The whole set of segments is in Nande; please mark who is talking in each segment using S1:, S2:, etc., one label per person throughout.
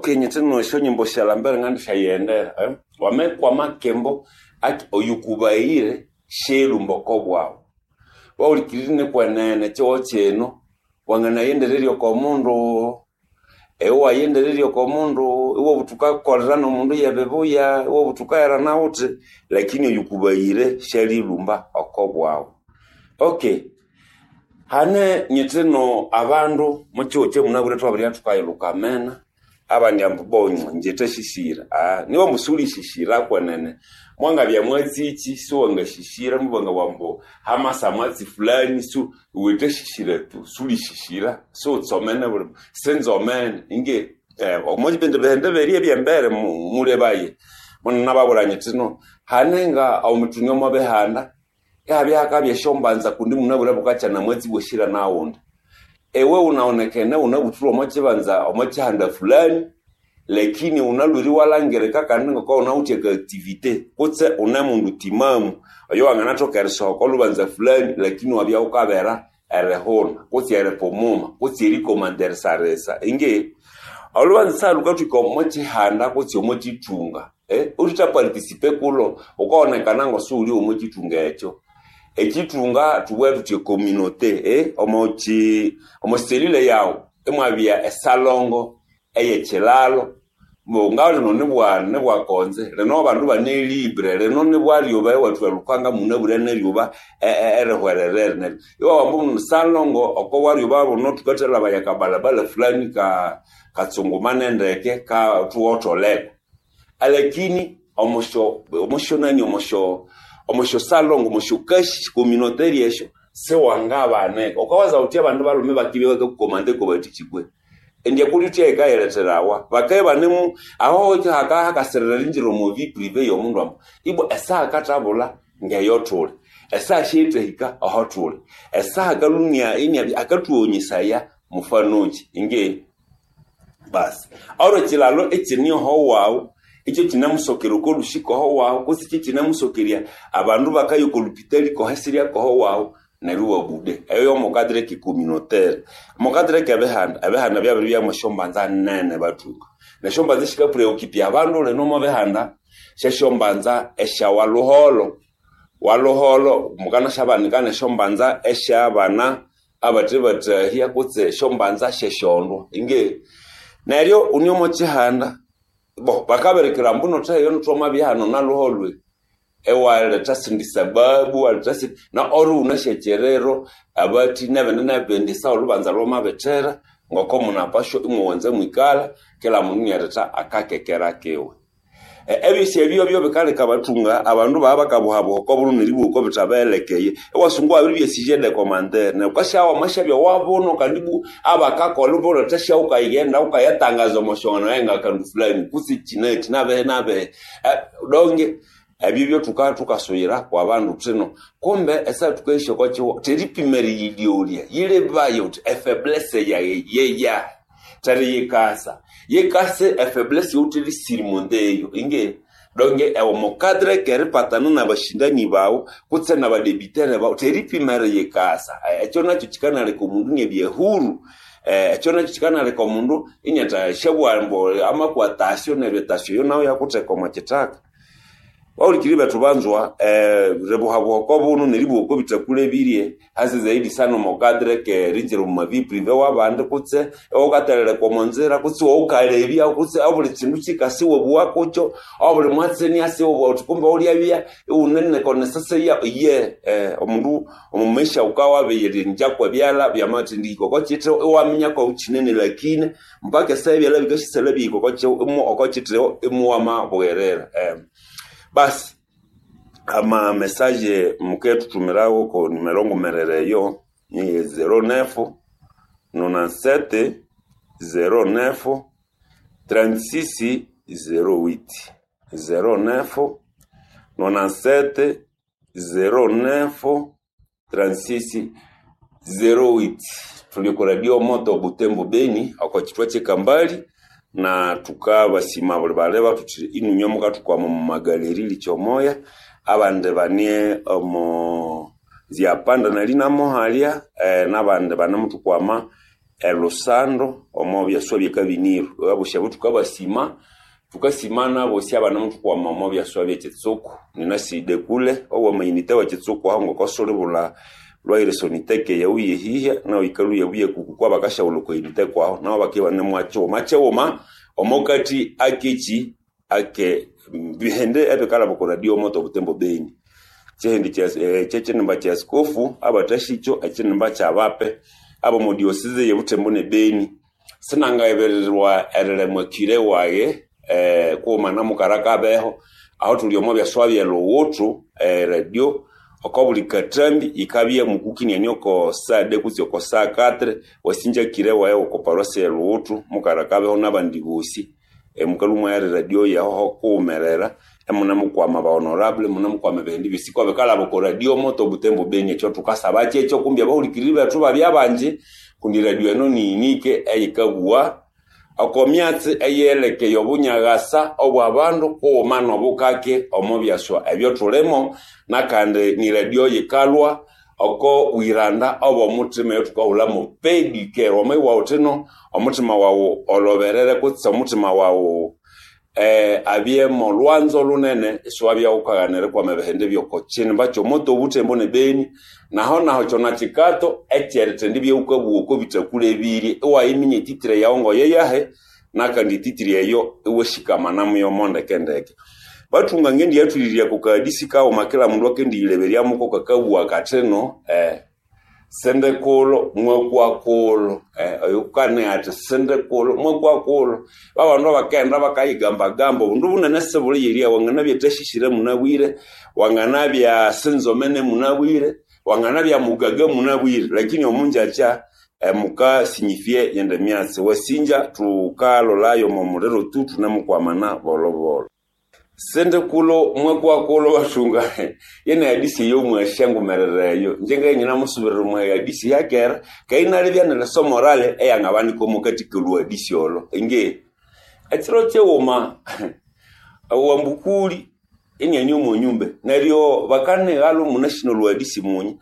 S1: Okay nyithino esyonyimbo syalambere ngandisyayihendera wamekwama akimbo oyukubaghire syerumba oko bwaghu wahulikirire nikwenene ekihugho kino wanganaghendererya oko mundu ewe iwaghendererya oko mundu iwabugha wuthi wukakolera nomundu yebibuya iwabugha wuthi wukaherana wuthi lakini oyukubaghire syalilhumba oko bwaghu. Okay hane nyithino abandu omukihugho kyamunabwire thwabiribya thukayilhuka amena abandi ambu bo ingye thasisira nibya ambu siwulisisira kwenene mwangabya mwatsikyi siwangasisira mubangabugha ambu hamasa mwatsi fulani iwe thasisira tu siwulisisira siwutsomene buli sinzomene inge omubindi bihanda byerya ebyembere mulebaye munababwira nyithi no hane nga omithunga omo bihanda ihabya hakabya esyombanza kundi munabwire bukakya namwatsi bwasira naghundi ewe wunawonekene wunabuthirwe omo kibanza omo kihanda fulani lakini wunalhwire iwalhangirika kandi ngoko wunawithe aka activité kutse wune mundu timamu oyo wanganathoka erisoha oko lhubanza fulani lakini iwabya wukabera erihuna kutse eripumuma kutse erikomanda erisarisa ingi olhubanza salhukathwika omo kihanda kutse omo kithunga uthitha participe kulho wukawonekana ngosiwuli omo kithunga ekyo ekithunga thubughe thuthi ecommunauté omo selile yaghu imwabya esalongo eyekilalo nga lino nibwakonze lino abandu ibane libre lino nibwalyuba iwathwa lukanga munabwire neryuba erihwererere neryo iwabugha ambu salongo oko walyuba buno thukathalabaya akabalabala fulani katsungumane ndeke thuwotholeko alakini omosyo omosyonani omosyo omosyo salongo omosyo kashi communautaire esyo siwangabaneka wukawaza wuthi abandu balhume bakibya bakakukomanda kobathikyi indi ekuli uthya yikayiletherawa bakabya ibanemu aho hakasirira eringira omo vie privée yomundu ambu ibwa esaha akathabulha ngeyo thuli esaha syerithahika aho thuli esaha akalhumya iniabya akathughonyesaya mufanokyi ingi basi olwo ekilalo ekine oho waghu ikyo kinamusokera oko lhusi koho waghu kutse ikyo kinamusokerya abandu bakaya oko lupitali koho esirya koho waghu neryo iwabude eyo yomo cadre ke communautaire omo cadre kebihanda ebihanda byabiribyamu esyombanza nene bathunga nesyombanza esikapreoccupe abandu lino omo bihanda syesyombanza esya walhuholho walhuholho mukanasyabanika nesyombanza esyabana abathe bathahya kutse esyombanza syesyondwa ingi neryo wune omo kihanda bo bakabirikira ambu notheyo thwamabya hano nalhuholwe ewaletha sindi sababu waletha sindi na ori wunasyakyerero abathi nebindi nebindi sawa olhubanza lwamabithera ngoko munapashwa imwawanza mwikalha kila mundu inialetha akakekera kiwe ebyosi ebyo byo bikaleka abathunga abandu baba bakabuhabuha oko buno neribugha oko bithabahelekeye iwasunga iwabiribya sujet de commentaire neryo wukasyawa wamasyabya wabuno kandi bu abakakolha ibuletha wukayighenda wukayatangaza omo syongano engakandu fulani kutse kyinakyi nabihi nabihi donge ebyo byo thukasuyira kwa bandu thino kumbe esaha thukayisya oko kihugho theripima eriyilyolya yilebaye wuthi efaiblesse yayi yeyahi theriyikasa yikase efaiblesse yawuthi eyo ingi donge omo cadre keripatana nabashindani baghu kutse nabadebithere baghu theripima eriyikasa ekyo nakyo kyikanaleka omundu iniabya huru ekyo nakyo kyikanaleka omundu iniathasyabugha ambu amakwa tasyo neryo etasyo eyo nayo iyakutheka omo kithaka wahulikirire bethu banzwa ribuhabuha oko buno neribuha oko bithakulebirye hasa zaidi sana omo cadre keringira omu vie privée wabandi kutse iwawukatheleleka omo nzira kutse iwawukalebya kutse obuli kindu kyikasi iwabugha kukyo obuli mwatsi iniasa iwabugha wuthi kumbe wulyabya iwune konesese ye omundu omu maisha wukawabiyilingya kwebyalha byamathendihika oko kithiwo iwaminya kwawukyinene lakini mpaka esaha ebyalha bikasyasalha bihika oko kithiwo imuwamabugherera basi ama message mukethuthumirawo ko numero ngumerere eyo ni 09 97 09 36 08 09 97 09 36 08 tuli ku radio moto Butembo Beni oko chitwa kyekambali na tukabasima buli baleba tuthi inunywe mukathukwama omu magaleri likyomoya abandi bane omo ziapanda nali namohalya nabandi banemuthukwama Elusando omo byaswa byekabĩnĩro. Abosi abo thukabasima, thukasima n'abosi abanemuthukwama omo byaswa byekitsuku. Ninaside kule ow'amayunite w'ekitsuku aho ngoko sulibulha Lwahira esoniteke yaghu y'eyihya nawu yikalhwa iyabugha kuku kwabakasyaghulha oko yunite kwahu nabo bakibya ibanemugha kyighuma kyighuma omokati akekyi ake bihindi ebikalhaba oko radio moto Butembo Beni. Kyihindi kyekyinimba kya askofu abathasyikyo ekyinimba kyabape abomo diocese ye Butembo ne Beni. Sinangabirirwa erilemwa kyire waghe kughuma na Mukarakabeho aho thuli omo byaswa bye Lughuthu eradio oko buli kathambi yikabya mukukiniania oko saa de kutse oko saa katre wasinja kyire waghe oko parosi ye Lughuthu Mukarakabeho n'abandi bosi mukalhwa imwaya eradio yaho kughumerera imunemukwama ba honorable imunemukwama ebihindi byosi kwabikalhaba oko radio moto Butembo Beni. Ekyo thukasaba kyekyo kumbi abahulikiriri bethu babya bangi kundi radio eno ni unique eyikabugha oko myatsi eyelekeye obunyaghasa obw'abandu kughuma n'obukake omo byaswa ebyothulimo nakandi ni radio yikalhwa oko bwiranda obw'omuthima eyothukahulhamu pedicare. Wama iwawuthino omuthima waghu olhoberere kutse omuthima waghu abye molwanzo lunene isiwabya ghukagana erikwama ebihindi by'oko kyinimba ky'omoto Obutembo ne Beni. Naho naho kyona kikato ekyerithindibya ghukabugha oko bithakule ebirye iwayiminya etitire yaghu ngoyeyahe nakandi etitire eyo iwashikamana muyo ndekendeke. Bathunga ngendiyathulirya oko kahadisi kaghuma kila mundu akendiyileberyamuko kakabugha kathino sindikulo mwakwakulo oyukane athi sindikulo mwakwakulo. Babandu abakaghenda bakayigambagamba obundu bunene sibuli yerya wanganabya thashishire munabwire, wanganabya sinzomene munabwire, wanganabya mugaga munabwire, lakini omunjakya mukasinyifye yende myatsi. Wasinja thukalolayo omo muliro tu thunemukwamana bolobolo. Sindikulo mwakwakulo bathunga yene hadisi eyomwasyangumerera eyo inje ngabya ininamusubirira omwa hadisi yakera keghe inalibya nerisomo morale eyangabanika omwakathi kolhuhadisi olho. Inge ekiro kyighuma owambukuli iniane omo nyumba neryo bakanighalho munasina olhuhadisi munye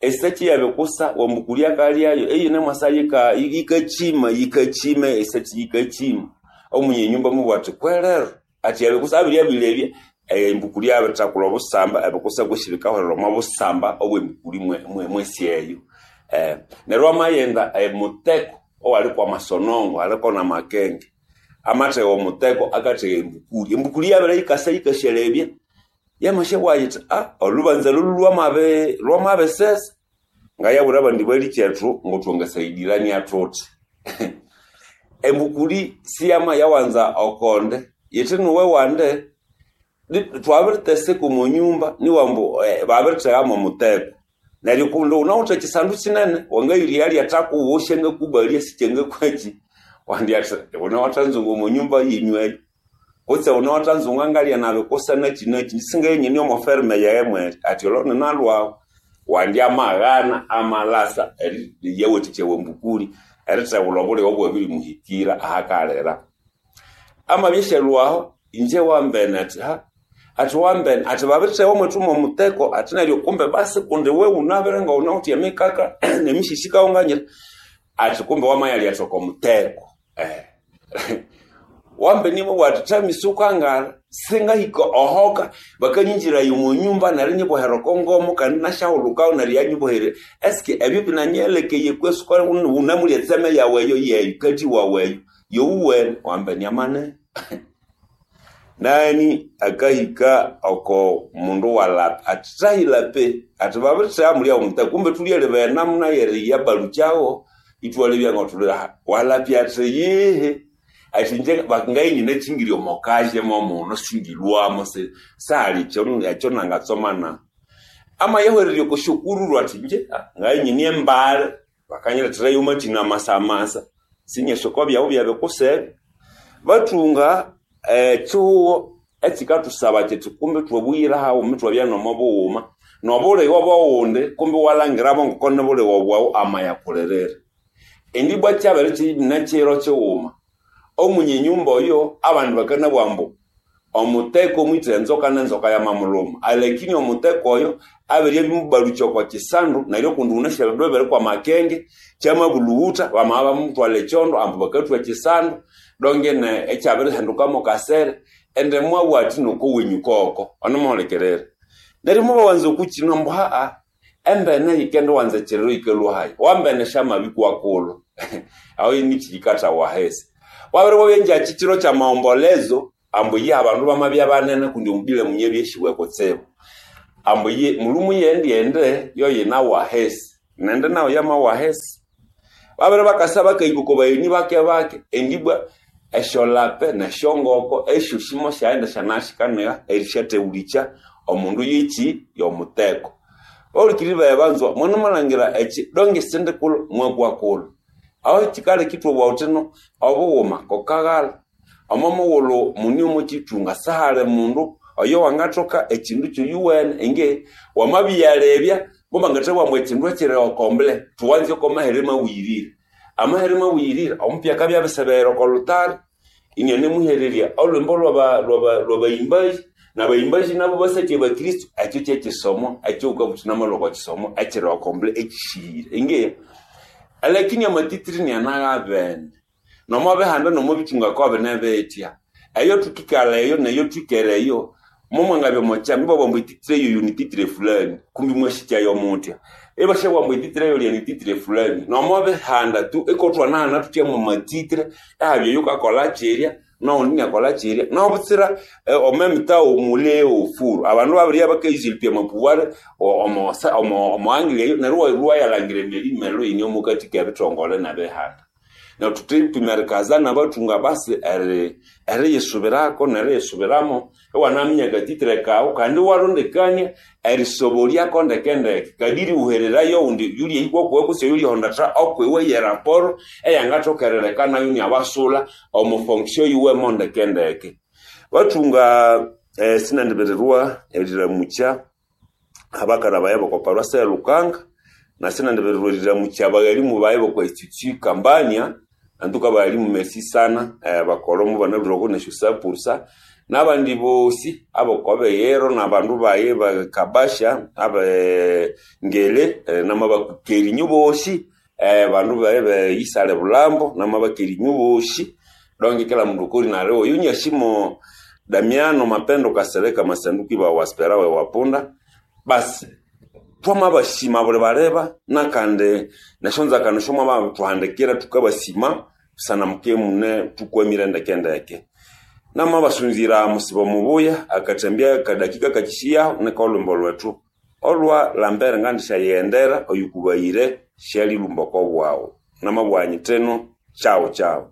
S1: esaki yabikusa wambukuli akalyayo eyinemwasa yikakyima yikakyima esaki yikakyima omunye nyumba mubugha athi kwerero athi yabikusa abiryabilebya embukuli yabirithakula obusamba ebikusa kwesi bikahulira omo busamba obwembukuli mwesi eyo. Neryo amaghenda emuteko owaliko amasonongo aliko namakenge amathegha omuteko akathegha embukuli. Embukuli yabere yikasa yikasyalebya yamasya yithi olhubanza lolu lwamabisesa ngayabwira abandi balikyethu ngothwangasayidilania thuthi. Embukuli siyama yawanza okonde yithi nuwe wande thwabiriteseka omo nyumba niwambu babirithegha mwomuteko neryo kundi wunawithe ekyisandu kyinene wangayirya lyathakuwu syangakubalya sikyangakwaki wandi athi wunawathanzunga omo nyumba yenyu eyo kutse wunawathanzunga ngalya nabikusa nakyi nakyi singayenyine omo ferme yaghe mweri athi olho ninalhwahu wandi amaghana amalasa eriyawathikya wambukuli erithebulha obulighe obwabirimuhikira ahakalira. Amabya asyalhwaho inje wambene athi athi wambene athi babirithegha omwethu mwomuteko athi neryo kumbe basi kundi iwe wunabire ngawunawithe emikaka nemishisi kawunganyira athi kumbe wamayalya oko muteko. Wambene imwabugha athi thamisi wukangara singahika ohoka bakanyinjiraya omo nyumba neryo inyibohera oko ngomo kandi inasyahulukayo neryo yanyibohere eske ebyo binanyelekeye kwesi wunamulya etseme yaghu eyo yeyo kathi wawu eyo yowuwene wambene amane. Nani akahika oko mundu walapa athi thahilape athi babirithegha mulya omuteko kumbe thulyalebaya namuna yeriya balukyawo ithwalebya ngothuli walapya athi yihi athi inje ngayininakyingirya omo kaje momuno singilhwamo sali ekyo nangatsomana. Amayahwererya oko syokururu athi inje ngayinyine embali bakanyiletherayo amathina amasamasa sinyasi oko byaghu byabikusebe. Bathunga ekyihugho ekyikathusaba kyithi kumbi thwabuyira haghuma ithwabya nomo bughuma n'obulighe obwaghundi kumbi iwalhangirabo ngoko nibulighe bwaghu amayakulirira. Indi ibwa kyabere kyina kyiro kyighuma omunye nyumba oyo abandi bakanabugha ambu Omuteko mwithe enzoka nenzoka yamamuluma, alakini omuteko oyo abiribya imubalũkya oko kisandu neryo kundi wunasi ebindu ebiri kwamakenge, kyamabulhughutha bamabya ibabimuthwalha ekyondo ambu bakathwa ekisandu dongene ikyabirihinduka mokasere indi mwabugha athi noko wenyu koko onemuhulikirira. Neryo mobawanza okukino ambu haa embene yikendiwanza ekiriro yikalhwa hayi wambene syamabikwa kulhu aho nikiyikathawa ahisi wabiribwa engyakyi kiro kyamaombolezo ambu iye abandu bamabya banene kundi omubile munyabyesyibwe kutsibu ambu iye mulhumu yendi yoyinawa ahisi nindi nayo yamawa ahisi babere bakasa bakahika oko bagheni bake bake endibwa esyolape nesyongoko esyosi mosyaghenda syanashikanigha erisyathewulikya omundu yekyi yomuteko. Bahulikiriri bayi banzwa mwanemalhangira ekyi donge isindi kulhu mwakwa kulhu aho kyikaleka ithwabugha thuthino obughuma kokaghalha omo mughulhu mune omo kyithunga sihali mundu oyo wangathoka ekyindu kyoyuwene ingi wamabiyalebya mubangathabugha ambu ekyindu ekyiri okombule thuwanze oko mahere mabuyirire amahere mabuyirire omupya akabya abirisebera oko lhutari inianemuhererya olhwimbo lwabayimbayi nabayimbayi nabo basathya abakristo ekyo kyekyisomo ekyowukabuthi namalhwa oko kisomo ekyiri okombule ekyisihire ingi alakini amatitiri nianaghabene nomobihanda nomobithunga kobine bithya eyo thukikalha eyo neyo thwikere eyo momwangabya omokyama ibabugha ambu etitiri eyoyo nititiri fulani kumbi mwasikyayo muthya ibashabugha ambu etitiri eyolya nititiri fulani nomobihanda tu ikothwanahana thuthya mwamatitire ehabya oyukakolha kyirya noghundi iniakolha kyirya nobutsira omemitawo mule ofuru abandu babiribya bakayizilipya amapuware omo angle eyo neryo iwayalhangira emyalhi iyine omukathi kebithongole nebihanda neryo thuthipima erikazana nabathunga basi eriyisubirako neriyisubiramo iwanaminya akatitire kawu kandi iwarondekania erisobolyako ndekendeke kadiri wuhererayo oghundi yulyahika okwiwe kutse oyulyahondatha okwiwe yeraporo eyangathoka erileka nayo iniabasula omo fonction yiwemo ndekendeke. Bathunga sinendibirirwa eriramukya abakara bayi boko paroisse e Lukanga na sinendibirirwa eriramukya abaghalimu bayi boko institut Kambania antuka abaghalimu merci sana bakolha mubanalhwireko nesyo sapursa nabandi bosi abokobiyiro nabandu bayi bakabasha abe ngele namabakerinyu bosi bandu bayi be Bulambo namabakerinyu bosi donge kila mundu okoli nali oyu nyashimo Damiano Mapendo Kasereka Masanduku iba waspera we wapunda basi twamabashima buli baleba nakandi nesyonzakano syomwabathuhandikira thukabasima busana muke mune thukwamire ndekendeke namabasunzira musibo mubuya akathambya kadakika kakishiyaho niko olhwimbo lwethu olwa Lambert ngandisyayihendera oyukubayire syalilhumba okobwawu namabugha nyithi ino chao chao.